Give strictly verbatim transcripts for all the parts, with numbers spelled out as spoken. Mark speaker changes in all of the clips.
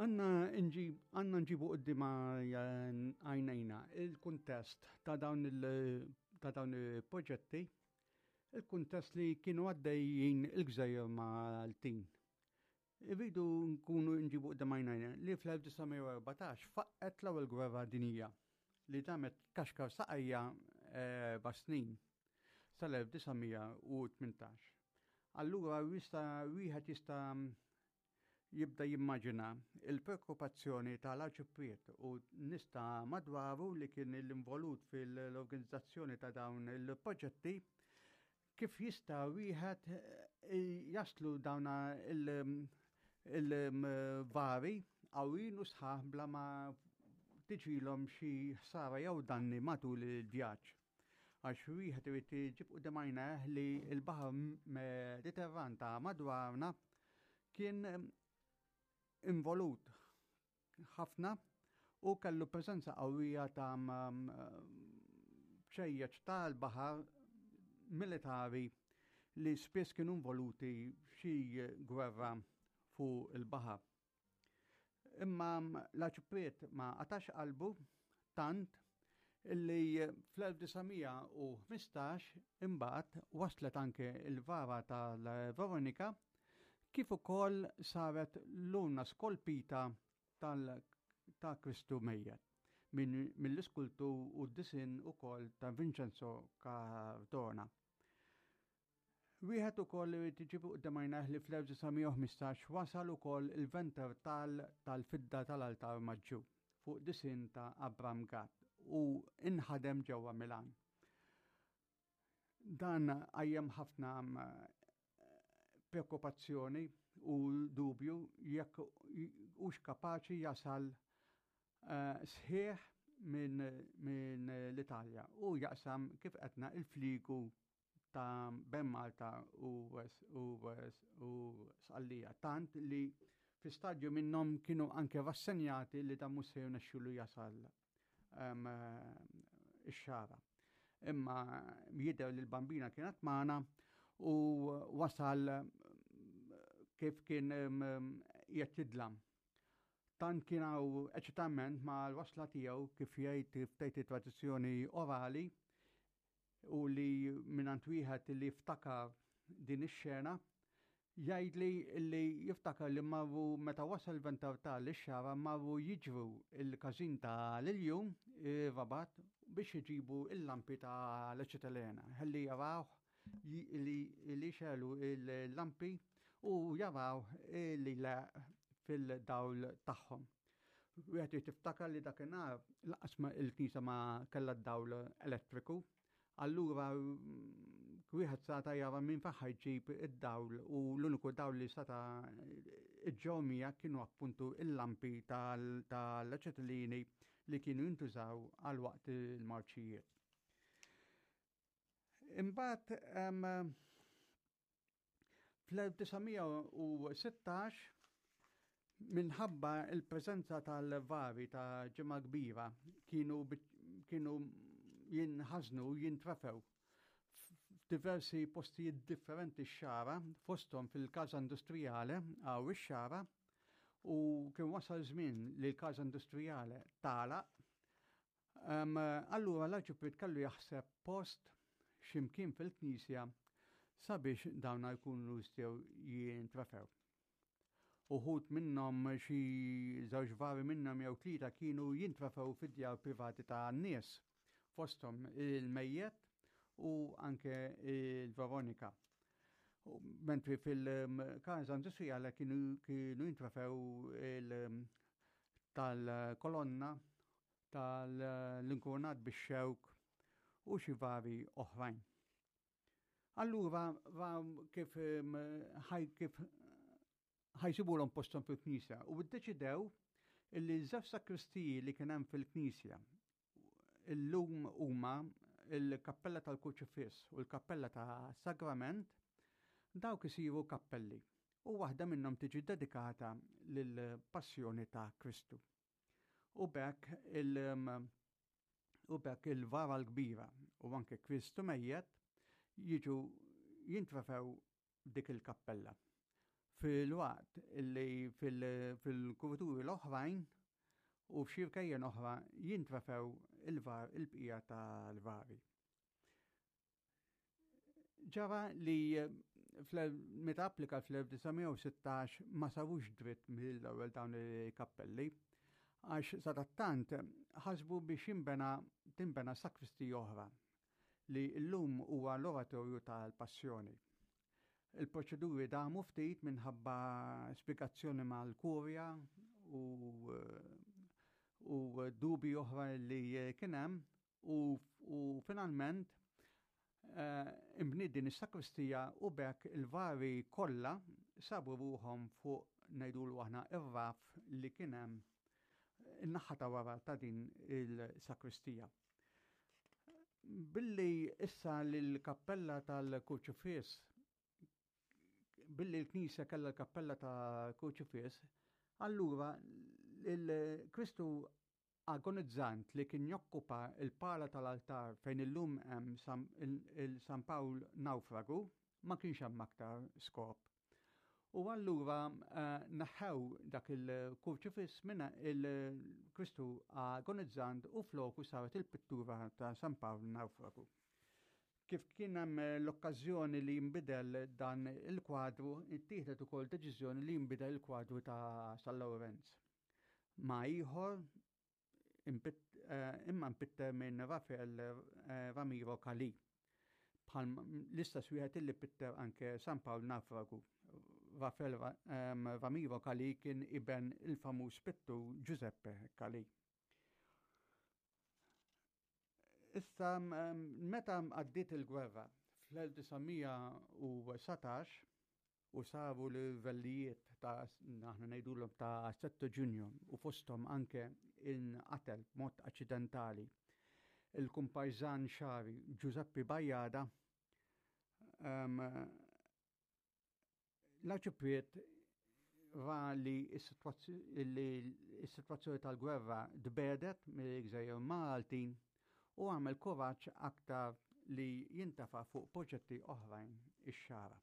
Speaker 1: Għandna nġib, għandna nġibu quddiem għajnejna il-kuntest ta' dawn il- ta' dawn il-proġetti, il-kuntest li kienu għaddejjin il-gżejjer Maltin. Irridu nkunu nġibu quddiem għajnejna li fl-elf disa' mija u erbatax faqqgħet l-ewwel gwerra dinija li damet tkaxkar saqajha erba' snin sal-elf disa' mija u tmintax. Allura wista wieħed jista' jibda jimmaġina il-preokkupazzjoni tal-arċipriet u nies ta' madwaru li kien l-involut fil-organizzazzjoni ta' dawn il-proġetti, kif jista' wieħed eh, jaslu dawn il-vari qawwin u sħaħ bla ma tiġilhom xi ħsara jew danni matul il-vjaġġ. Għax wieħed irid iġib quddiem għajnejh li l-baħar Mediterran ta' madwarna kien involut ħafna u kellu preżenza qawwija ta' bċejjeċ tal-baħar militari li spiss kienu involuti f'xi gwerra fuq il-baħar. Imma l-arċipriet ma qatax qalbu, tant illi fl-elf disa' mija u ħmistax imbagħad waslet anke il-vara tal-Veronika, kif ukoll saret l-urna skolpita tal ta' Kristu mejjet minn mill-iskultur u d-disin ukoll ta' Vincenzo Cardona. Wieħed ukoll irid iġib quddiem għajnejh li fl-elf disa' mija u ħmistax wasal ukoll il-venter tal-fidda tal-altar maġġur fuq disin ta' Abram Gatt u inħadem ġewwa Milan. Dan qajjem ħafna preokkupazzjoni u dubju jekk hux kapaċi jasal uh, sħiħ minn min l-Italja u jaqsam, kif għedna, il-fliegu ta' bejn Malta u, u, u Sqallija. Tant li fi stadju minnhom kienu anke rassenjati li dan mhux se jirnexxilu jasal um, ix-Xagħra. Imma jidher li l-Bambina kienet magħna u wasal kif kien qed jidlam. Tant kien hawn eċitament ma' l-wasla tiegħu, kif jgħid kif tgħid tradizzjoni orali u li mingħand wieħed li ftakar din ix-xena, jgħid li li jiftakar li marru, meta wasal ventartal ix-Xagħra, marru jiġru il-każin ta' l-Iljun Rabat biex iġibu il-lampi ta' l-eċetelena ħalli jaraw li li xegħlu il-lampi u jaraw li la fil-dawl tagħhom. Wieħed tiftakar li dakinhar lanqas il-knisja ma kellha d-dawl elettriku, allura wieħed sata jara minn fejn ġib id-dawl u l-uniku dawl li sata iġġomija kienu appuntu il-lampi tal-aċetilini li kienu jintużaw għal waqt il-marċijiet. Imbagħad fl-elf disa' mija u sittax, minħabba il-preżenza tal-vari ta' Ġimgħa Kbira kienu kienu jinħażnu, jintrefew f'diversi postijiet differenti x-Xagħra, fosthom fil-Casa Industrijale għaw ix-Xagħra, u kien wasal żmien li l-Casa Industrijale tagħlaq. Um, allura l-arċipriet kellu jaħseb post ximkien fil-knisja sabiex dawna jkunu jistgħu jintrefew. Uħud minnhom, xi żewġ vari minnhom jew tlieta, kienu jintrefew fid-djar privati ta' nies, fosthom il-mejjet u anke il-Veronika. Mentri fil-Casa Industrijale kienu, kienu jintrefew tal-kolonna, tal-inkurunat bix-xewk u xi vari oħrajn. Allura kif ħaj kif ħa jsibulhom posthom fil-knisja u ddeċidew illi żewġ sakristiji li kien hemm fil-knisja, illum huma il-kappella tal-Kurċifiss u l-kappella ta' Sagrament, dawk isiru kappelli u waħda minnhom tiġi dedikata lill-Passjoni ta' Kristu. U b'hekk il- u b'hekk il-vara l-kbira u anke Kristu mejjet jiġu jintrefew dik il-kappella. Fil-waqt li fil-kurituri l-oħrajn u f'xi rkejjen oħra jintrefew il-var il-bqija tal-vari. Ġara li meta applika fl-elf disa' mija u sittax ma sarux dritt mill-ewwel dawn il-kappelli, għax sadattant ħasbu biex jinbena tinbena sakristija oħra li llum huwa l-oratorju tal-Passjoni. Il-proċeduri damu ftit minħabba spjegazzjoni mal-kurja u, u dubi oħra li kien hemm u, u finalment, eh, imbniet din is-sakristija u b'hekk il-vari kollha sabu ruħhom fuq ngħidulu aħna ir-raf li kien hemm in-naħa ta' wara ta' din il-sakristija. Billi issa l-kappella tal-Kurċifiss, billi l-Knisja kellha l-kappella tal-Kurċifiss, allura il-Kristu agonizzant li kien jokkupa il-pala tal-altar fejn illum hemm il-San Pawl Naufragu ma kienx hemm aktar skop. U allura, eh, neħħew dak il-kurċifiss minn il-Kristu agonizzant u floku saret il-pittura ta' San Pawl Naufragu. Kif kien hemm l-okkażjoni li jinbidel dan il-kwadru, ittieħdet ukoll deċiżjoni li jinbidel il-kwadru ta' San Lawrenz. Ma ieħor eh, imma mpitter minn Rafael, eh, Ramiro Calì. Bħal l-istess wieħed illi pitter anke San Pawl Naufragu. Rafael ehm, Ramiro Calì kien iben il-famuż pittur Giuseppe Calì. Issa, ehm, meta għaddiet il-gwerra fl-elf disa' mija u satax u saru livellijiet ta' aħna ngħidulhom ta' sette Ġunju u fosthom anke inqatel b'mod aċċidentali il-kumpajżan xari Giuseppe Bajada, ehm, l-Arċipriet ra li s-sitwazzjoni tal-gwerra tbedet mill-Gżejjer Maltin u għamel kuraġġ aktar li jintafa' fuq proġetti oħrajn ix-Xagħra.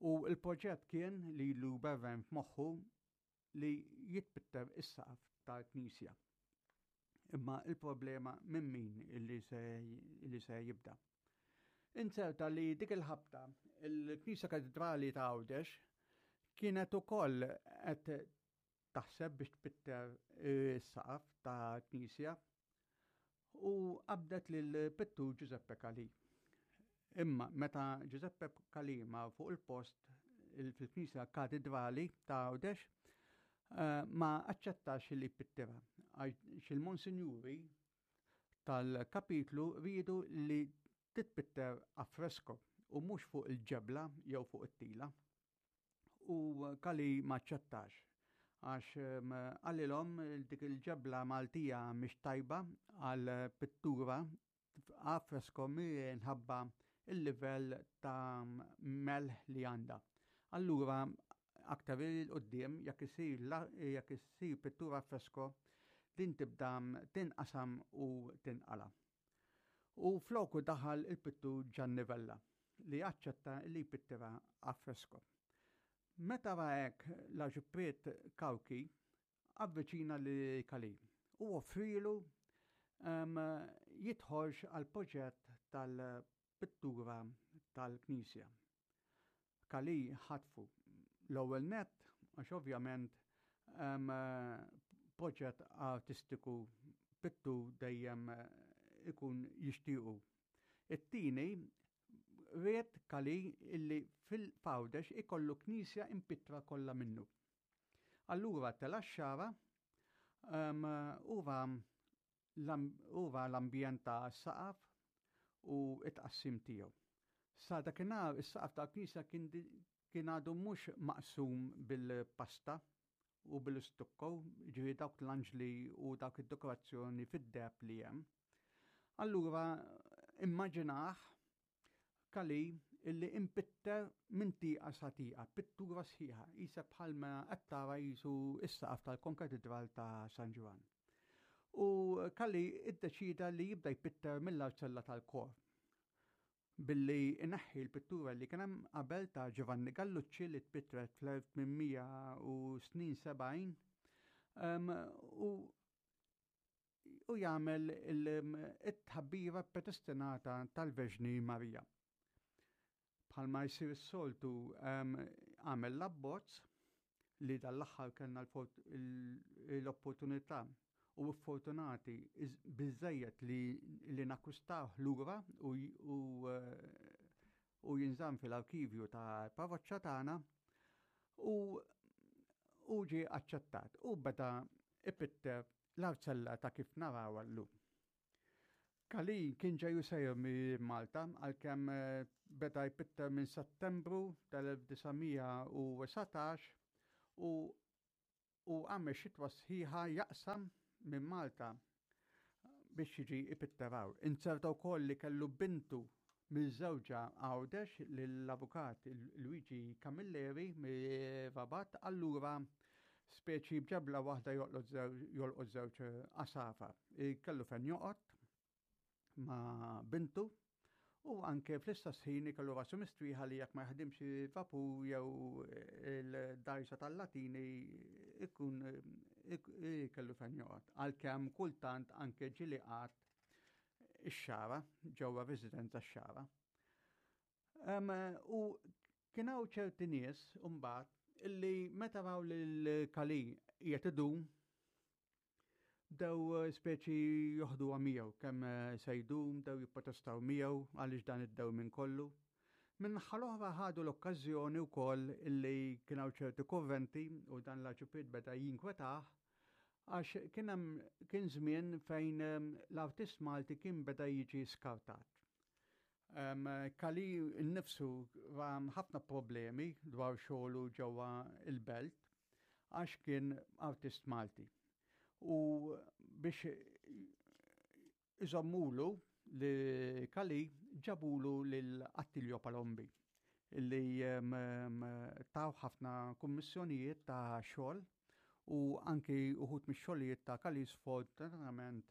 Speaker 1: U l-proġett kien li ilu berren f'moħħu li jitpitter is-saqaf tal-Knisja. Imma il-problema minn min illi se, illi se jibda. Inzerta li dik il-ħabta il-Knisja Katedrali ta' Għawdex kienet ukoll qed taħseb biex tpitter is-saqaf ta' Knisja u qabdet lil pittur Giuseppe Calì. Imma meta Giuseppe Calì ma fuq il-post fil-Knisja Katedrali ta' Għawdex, eh, ma aċċettax li pittira għax il-monsinjuri tal-kapitlu riedu li titpitter a fresco u mhux fuq il-ġebla jew fuq it-tila. U Calì ma aċċettax għax, ehm, qalilhom dik il-ġebla Maltija mhix tajba għal pittura a fresco minħabba il-livell ta' melħ li għandha. Allura aktar il-qoddim jekk isir la-, jekk isir pittura fresco din tibda tinqasam u tinqala. U floku daħal il-pittur Gianni Vella li aċċetta li jpittira a fresco. Meta ra hekk l-Arċipriet Cauchi avviċina li Calì u offrilu, ehm, jidħolx għal proġett tal-pittura tal-Knisja. Calì ħatfu l-ewwel nett għax ovvjament, ehm, proġett artistiku pittur dejjem ikun jixtiequ. It-tieni ried Calì illi fil-Għawdex ikollu knisja impittra kollha minnu. Allura tela' x-Xagħra, ehm, huwa l-ambjent ta' saqaf u it-tqassim tiegħu. Sa dakinhar is-saqaf tal-knisja kien di-, kien għadu mhux maqsum bil-pasta u bil-istukko, ġifieri dawk l-anġli u dawk id-dekorazzjoni fid-deheb li hemm. Allura immaġinah Calì illi impitter minn tieqa sa tieqa, pittura sħiħa, qisha bħalma qed tara qisu s-saqaf tal-Konkatedral ta' San Ġwann. U Calì iddeċida li jibda jpitter mill-arċella tal-kor. billi ineħħi l-pittura li kien hemm qabel ta' Giovanni Gallucci li tpittret fl-elf tmien mija u snin sebgħin u u jagħmel it-tħabbira predestinata tal-Verġni Marija. Bħalma jsir is-soltu, għamel l-abbozz li dal-aħħar kellna l-opportunità u fortunati biżejjed li, li nakkwistaw lura u, u, u jinżamm fil-arkivju ta' parroċċa tagħna u u ġie aċċettat u beda ipitter l-arzella ta' kif naraw llum. Calì kien ġej sejjer minn Malta, għalkemm eh, beda jpitter minn Settembru tal-elf disa' mija u dsatax u u għamel xitwa sħiħa jaqsam minn Malta biex jiġi ipitter hawn. Inzerta wkoll li kellu bintu miż-żewġa Għawdex, lill-avukat Luigi Camilleri mir-Rabat, allura speċi b'ġebla waħda jolqot żewġ għasafar. Kellu fejn joqgħod ma' bintu u anke fl-istess ħin kellu rasu mistrieħa li jekk ma jaħdimx vapur jew il-dgħajsa tal-Latini ikun kellu fejn joqgħod. Għalkemm kultant anke ġieli qagħad ix-Xagħra, ġewwa residenza x-Xagħra. U kien hawn ċerti nies mbagħad illi meta raw lil Calì qiegħed idum, bdew speċi joħdu miegħu kemm se jdum, bdew jipprotestaw miegħu għaliex dan id-dewmien kollu. Min-naħa l-oħra ħadu l-okkażjoni wkoll illi kien hawn ċerti kurrenti u dan l-Arċipriet beda jinkwetah għax kien hemm kien żmien fejn l-artist Malti kien beda jiġi skartat. Um, Calì nnifsu ra ħafna problemi dwar xogħlu ġewwa il-belt għax kien artist Malti. U biex iżommulu lil Calì, ġabulu lil Attilio Palombi illi um, taw ħafna kummissjonijiet ta' xogħol u anki uħud mix-xogħlijiet ta' Calì sfortunatament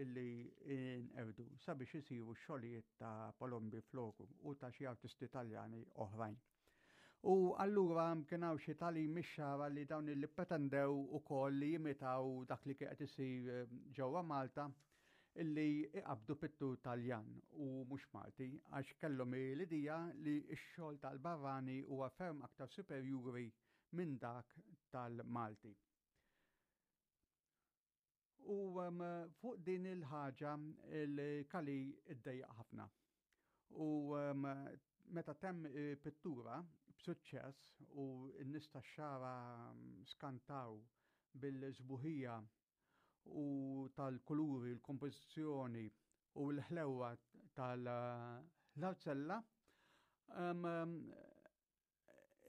Speaker 1: illi inqerdu sabiex isiru xogħlijiet ta' Palombi floku u ta' xi artisti Taljani oħrajn. U allura kien hawn xi tali mix-Xagħra li dawn li pretendew ukoll li jimitaw dak li kien qed isir eh, ġewwa Malta, illi iqabdu pittur Taljan u mhux Malti, għax kellhom l-idea li x-xogħol tal-barrani huwa ferm aktar superjuri minn dak tal-Malti. U um, fuq din il-ħaġa il-Calì iddejjaq ħafna. U um, meta temm pittura b'suċċess u n-nies tax-Xagħra skantaw bil-sbuħija u tal-kuluri, l-kompożizzjoni u l-ħlewa tal-arzella, um,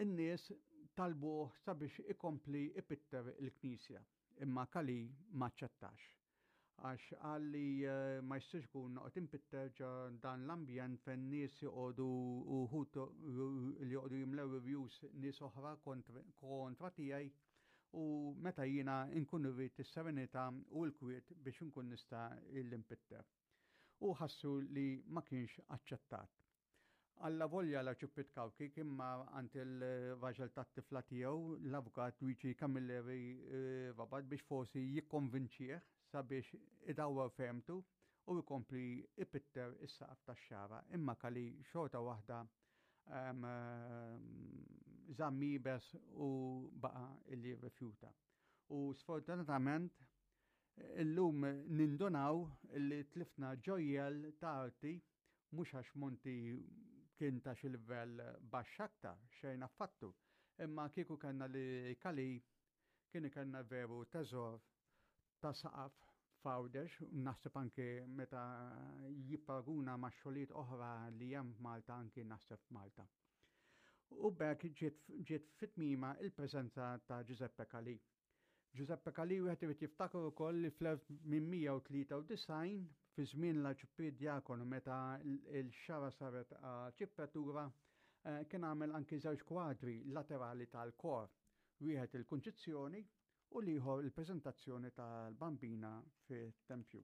Speaker 1: in-nies talbuh sabiex ikompli ipitter il-knisja, imma Calì maċċettax. Għax qal li eh, ma jistax ikun noqgħod inpitter ġo dan l-ambjent fejn nies joqogħdu uħud li joqogħdu jimlew reviews nies oħra kontra tiegħi u meta jiena nkun irrid is-serenità u l-kwiet biex nkun nista' l-impitter. U ħassu li ma kienx aċċettat. Allavolja l-Arċipriet Cauchi kien mar għand il-raġel tat-tifla tiegħu, l-avukat Luigi Camilleri eh, Rabat, biex forsi jikkonvinċih sabiex idawwar fehmtu u jkompli ipitter is-saqaf tax-Xagħra. Imma Calì xorta waħda żamm iebes u baqa illi rifjuta. U sfortunatament illum nindunaw illi tlifna ġojjel ta' arti, mhux għax Monti kien ta' xi livell baxx aktar, xejn affattu. Imma kieku kellna lil Calì, kien kellna veru teżor ta' saqaf f'Għawdex, naħseb anke meta jipparaguna ma' xogħlijiet oħra li hemm Malta, anke naħseb f'Malta. U b'hekk ġiet fi tmiemha il-preżenza ta' Giuseppe Calì. Giuseppe Calì wieħed irid jiftakar ukoll li fl-elf tmien mija u tlieta u disgħin, fi żmien l-Arċipriet Diakonu, meta l-Xagħra saret arċipretura, eh, kien għamel anki żewġ kwadri laterali tal-kor, wieħed il-Kunċizzjoni u l-ieħor il-preżentazzjoni tal-Bambina fit-tempju.